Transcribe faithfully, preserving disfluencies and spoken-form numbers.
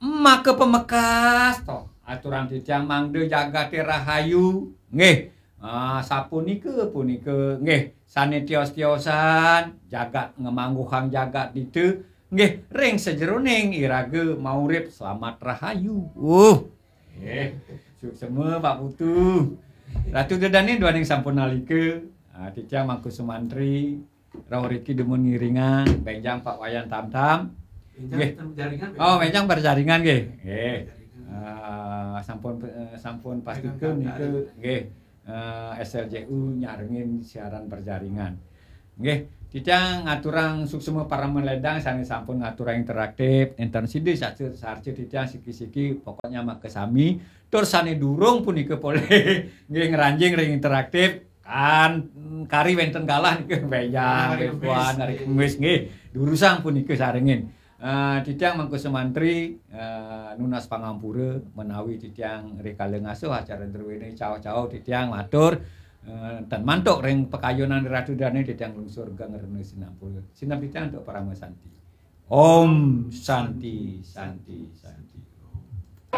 Maka pamekas to, aturang titiang mangda jagate rahayu. Nggih. Ah, sapunika punika nggih sane tios-tiosan jagat ngamangguhang jagat ditu. Nggih, ring sajeroning iraga maurip slamet rahayu. Uh. Nggih, suksema Pak Putu. Ratu Dedane duaning sampun nalika. Ah, titiang Mangku Sumantri rauh riki dumun ngiringang benjang Pak Wayan Tamtam. Nggih. Oh, benjang berjaringan nggih. Nggih. Ah, sampun eh, sampun pastika nika nggih. Eh, S L J U nyarengin siaran berjaringan. Nggih, titiang ngaturang suksema parama ledang sane sampun ngaturang interaktif, enten sida sarca sarca titiang siki-siki pokoknya makasami. Tur sane durung punika polih nggih ngranjing ring interaktif kan kari wenten galah nika benjang, hari Kemis, puan, hari Kemis nggih. Durusang punika sarengin. Eh, titiang Mangku Sumantri eh, nunas pangampura menawi titiang rikala ngasuh acara druwene cao-cao titiang matur eh, ten mantuk ring pakayunan Ratu Dane titiang lungsur geng rena sinampura. Sineb titiang antuk parama santi. Om Santi, Santi, Santi.